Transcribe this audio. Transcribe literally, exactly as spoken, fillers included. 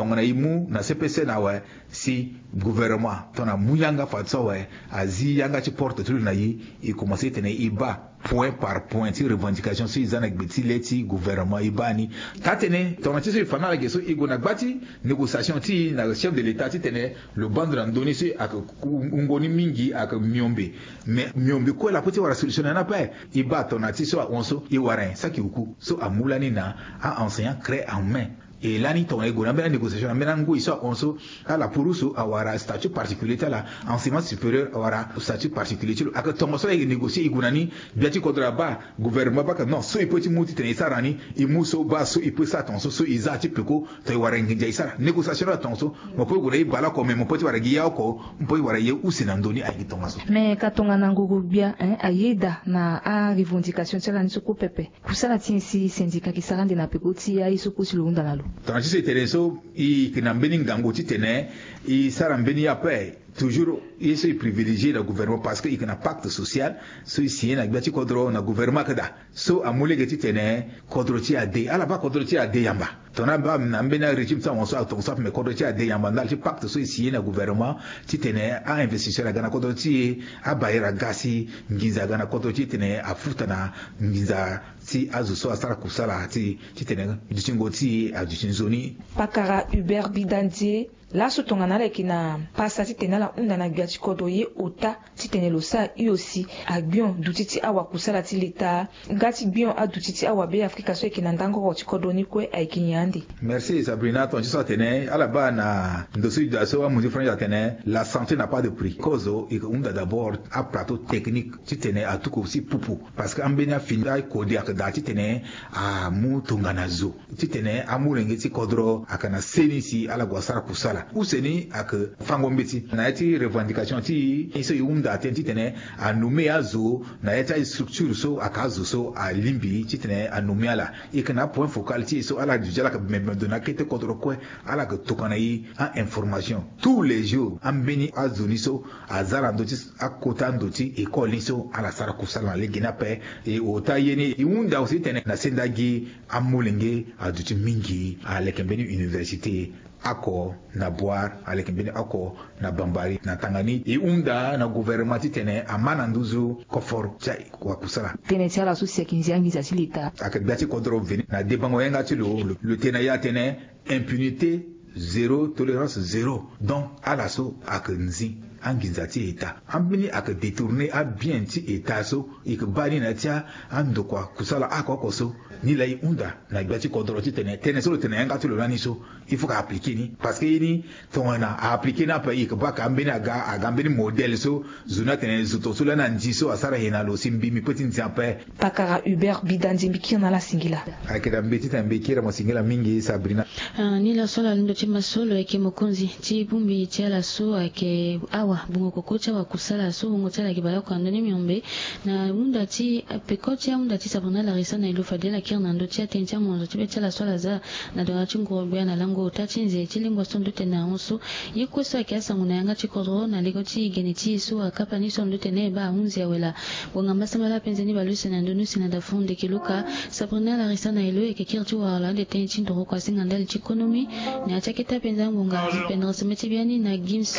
Tongana e mu na C P C na awe, si gouvernement tongana amu yanga fadeso awe, azi yanga ti porte ti lo na e, e komanse titene e baa point par point ti revendication so e za na gbe ti le ti gouvernement e baa ni. Taa-tënë tongana ti so e fa na ala ge so e gue na gba ti négociation ti e na chef de l'État titene lo baa ndo na ndö ni so ayeke wungo ni mingi, ayeke miombe. Mais miombe kue la peut ti wara solution na ni ape. E baa tongana ti so ahon so e wara nyen? Saki oku so amu lani na a-enseignant craie en main. E lani tongana e gue na ambeni anégociation na ambeni angoi so ahon so, ala puru so awara statut particulier ti ala, enseignement supérieur awara statut particulier ti lo. Ayeke tongaso la e négocier e gue na ni, gbia ti kodro abaa, gouvernement abaa ke non, so e peut ti mu titene e sara ni, e mu so baa so e peut sara tongaso, so e za ti peko, tongana e wara nginza e sara. Négociation ni ala tongaso. Mo peut gue na e baleoko, mais mo peut ti wara gi ya oko, mo peut ti wara ye use na ndö ni, ayeke tongaso. Mais ka tongana ngoro gbia, hein, ayeda na arevendication ti ala ni so kue pepe. Kusala ti e si syndicat ayeke sara ande na peko ti aye so kue si lo hunda na lo. Tongana ti so e tene so, e yeke na mbeni ngangu titene e sara mbeni ye ape. Toujours ye so e privilégier na gouvernement parce que e yeke na pacte social so e signer na gbia ti kodro na gouvernement ayeke daa. So amu lege titene kodro ti e ade, ala baa kodro ti e ade yamba. Tongana abaa na ambeni arégime ti ahon so atongaso ape, mais kodro ti e ade yamba ndali ti pacte so e signer na gouvernement titene a-investisseur aga na kodro ti e, abailleur aga si nginza aga na kodro ti e titene afuta na nginza ti azo so asara kusala ti, titene dutingo ti e aduti nzoni. Pakara Hubert Bidandie, laso tongana ala yeke na pasa titene ala hunda na gbia ti kodro ye ota titene lo sara hio si agbion duti ti awakusala ti leta nga ti gbion aduti ti awabeafrika so ayeke na ndangoro ti kodro ni kue ayeke nyen ande? Merci Sabrina. Tongana ti so atene ala baa na ndo so e daa so amunzi français atene la santé n'a pas de prix. Kozo e hunda d'abord aplateau technique titene atuku si pupu. Parce que ambeni afini akode ayeke daa titene amu tongana zo titene amolenge ti kodro ayeke na seni si ala gue asara kusala. Use ni ayeke fango mbeti na ya ti revendication ti e so e hunda atene titene anomme azo na ya ti astructure so ayeke azo so alingbi titene anomme ala. E yeke na apoint focal ti e so ala duti ala yeke bembe ndo na akete kodro kue. Ala yeke tokua na e a-information tous les jours. Ambeni azo ni so aza na ndö ti akota ndo ti école ni so ala sara kusala na lege ni ape. E ota ye ni e hunda aussi titene na senda gi amolenge aduti mingi aleke mbeni université oko na Bouar, aleke mbeni oko na Bambari. Na tanga ni e hunda na gouvernement titene ama na nduzu koforo ti awakusala. Tënë ti ala so si ayeke nzia nginza ti leta. Ayeke gbia ti kodro veni na debango yanga ti lo, lo, lo tene na e atene impunité zéro, tolérance zéro. Donc ala so ayeke nzi anginza ti État. Ambeni ayeke détourner abien ti État so e yeke baa ni na ya ti andokua kusala oko oko so. Ni laa e hunda na gbia ti kodro titene tënë so lo tene na yanga ti lo lani so il faut ka appliquer ni. Parce que ye ni tongana a appliquer ni ape e yeke baa ka ambeni aga, aga ambeni modèle so zo ni atene zo tongaso lani anzi so asara ye na lo si mbi mbi peut ti nzi ape. Pakara Hubert Bidandie, mbi kiri na ala singila. Ayeke na mbi titene mbi kiri mo singila mingi Sabrina. Ah, ni laso ala londo ti ma so lo yeke mokonzi ti bongbi ti ala so ayeke awa bungo koko ti awakusala so wungo ti ala ayeke baleoko na ndö ni miombe. Na hunda ti peko ti ahunda ti Sabrina Larissa na e lo fade ala kiri na ndö ti atënë ti amonzo ti be ti ala so ala za na dona ti nguru gbia na lango ota ti nze ti lingua so ndö tene ahon so. Ye kue so ayeke asango na yanga ti kodro na lego ti gene ti e so akapa ni so ndö tene e baa ahunzi awe laa. Wangamba sambala ape nzeni baleuse na ndö ni use na dafu ndeke luka. Sabrina Larissa na e lo e yeke kiri ti wara lo ande tënë ti ndoro kuasinga ndali ti konomi. Na ya ti akete apenza angbonga ti pendere seme ti biani na Gims